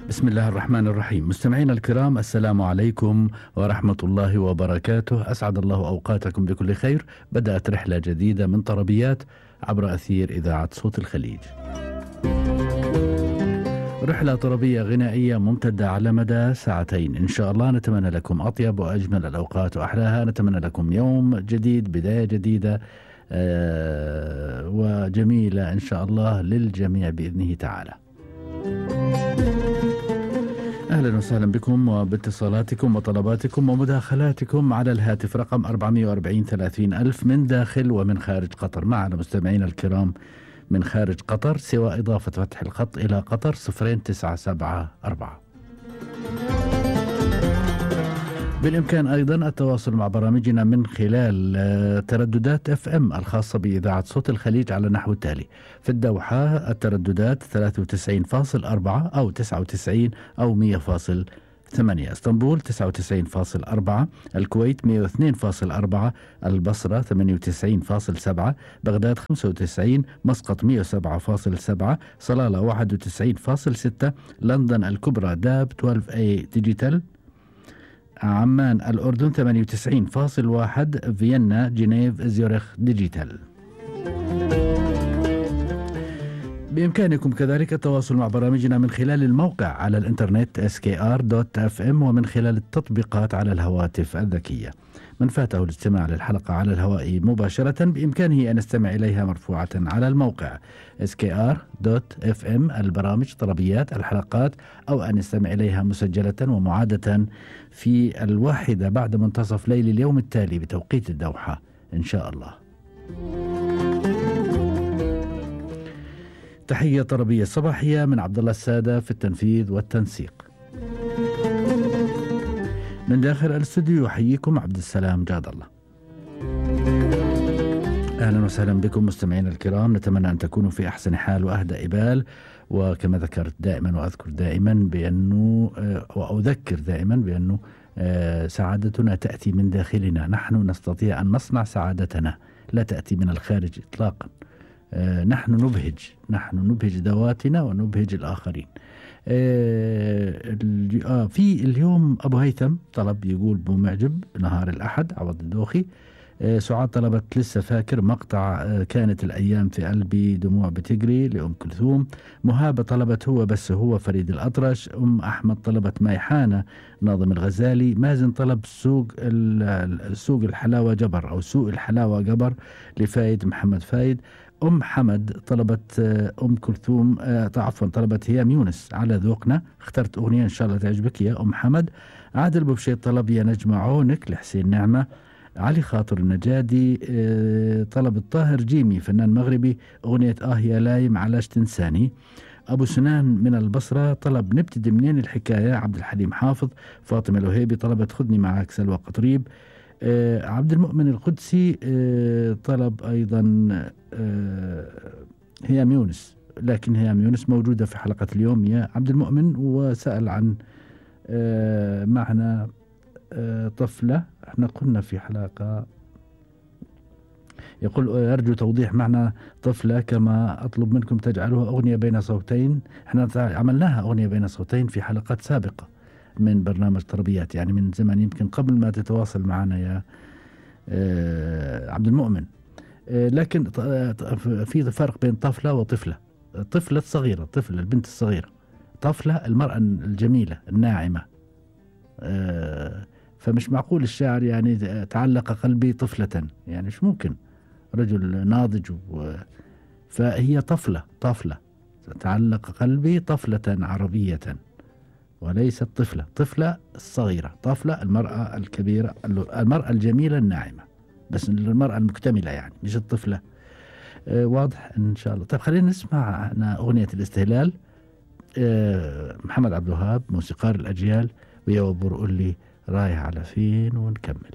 بسم الله الرحمن الرحيم. مستمعينا الكرام، السلام عليكم ورحمة الله وبركاته. أسعد الله أوقاتكم بكل خير. بدأت رحلة جديدة من طربيات عبر أثير إذاعة صوت الخليج. رحلة طربية غنائية ممتدة على مدى ساعتين إن شاء الله. نتمنى لكم أطيب وأجمل الأوقات وأحلاها. نتمنى لكم يوم جديد، بداية جديدة وجميلة إن شاء الله للجميع بإذنه تعالى. أهلا وسهلا بكم وباتصالاتكم وطلباتكم ومداخلاتكم على الهاتف رقم 440 30 ألف من داخل ومن خارج قطر. معنا مستمعين الكرام من خارج قطر سوى إضافة فتح الخط إلى قطر 0974. بالإمكان أيضا التواصل مع برامجنا من خلال ترددات FM الخاصة بإذاعة صوت الخليج على نحو التالي: في الدوحة الترددات 93.4 أو 99 أو 100.8، اسطنبول 99.4، الكويت 102.4، البصرة 98.7، بغداد 95، مسقط 107.7، صلالة 91.6، لندن الكبرى داب 12A ديجيتال، عمان الأردن 98.1، فيينا جنيف زيورخ ديجيتال. بإمكانكم كذلك التواصل مع برامجنا من خلال الموقع على الإنترنت skr.fm ومن خلال التطبيقات على الهواتف الذكية. من فاته الاستماع للحلقة على الهواء مباشرة بإمكانه أن يستمع إليها مرفوعة على الموقع skr.fm البرامج طربيات الحلقات، أو أن يستمع إليها مسجلة ومعادة في 1 بعد منتصف ليل اليوم التالي بتوقيت الدوحة إن شاء الله. تحية طربية صباحية من عبد الله السادة في التنفيذ والتنسيق. من داخل الاستوديو يحييكم عبد السلام جاد الله. أهلا وسهلا بكم مستمعين الكرام. نتمنى أن تكونوا في أحسن حال وأهدى إبال، وكما ذكرت دائما وأذكر دائما بأنه وأذكر دائما بأنه سعادتنا تأتي من داخلنا. نحن نستطيع أن نصنع سعادتنا، لا تأتي من الخارج إطلاقا. نحن نبهج ذواتنا ونبهج الآخرين. في اليوم أبو هيثم طلب يقول بمعجب نهار الأحد عوض الدوخي. سعاد طلبت لسه فاكر مقطع كانت الأيام في قلبي دموع بتجري لأم كلثوم. مهابة طلبت هو بس هو فريد الأطرش. أحمد طلبت ميحانة ناظم الغزالي. مازن طلب سوق الحلاوة جبر أو سوق الحلاوة جبر لفايد محمد فايد. حمد طلبت كلثوم عفوا طلبت هيام يونس على ذوقنا. اخترت أغنية إن شاء الله تعجبك يا حمد. عادل بوبشيط طلب يا نجمة عونك لحسين نعمة. علي خاطر النجادي طلب الطاهر جيمي فنان مغربي أغنية يا لايم علاش تنساني. أبو سنان من البصرة طلب نبتدي منين الحكاية عبد الحليم حافظ. فاطمة الوهيبي طلبت خذني معك سلوى قطريب. عبد المؤمن القدسي طلب أيضا هيام يونس، لكن هيام يونس موجودة في حلقة اليوم يا عبد المؤمن، وسأل عن معنى طفلة. احنا قلنا في حلقة يقول أرجو توضيح معنى طفلة كما أطلب منكم تجعلوها أغنية بين صوتين. احنا عملناها أغنية بين صوتين في حلقات سابقة من برنامج طربيات، يعني من زمان يمكن قبل ما تتواصل معنا يا عبد المؤمن. لكن في فرق بين طفلة وطفلة. طفلة صغيرة، طفلة البنت الصغيرة، طفلة المرأة الجميلة الناعمة. فمش معقول الشاعر يعني تعلق قلبي طفلة، يعني مش ممكن رجل ناضج فهي طفلة تعلق قلبي طفلة عربية وليست طفلة الصغيرة. طفلة المرأة الكبيرة، المرأة الجميلة الناعمة، بس المرأة المكتملة يعني مش الطفلة. واضح إن شاء الله. طيب خلينا نسمع أغنية الاستهلال. محمد عبد الوهاب موسيقار الأجيال، ويا وبر قول لي رايح على فين ونكمل.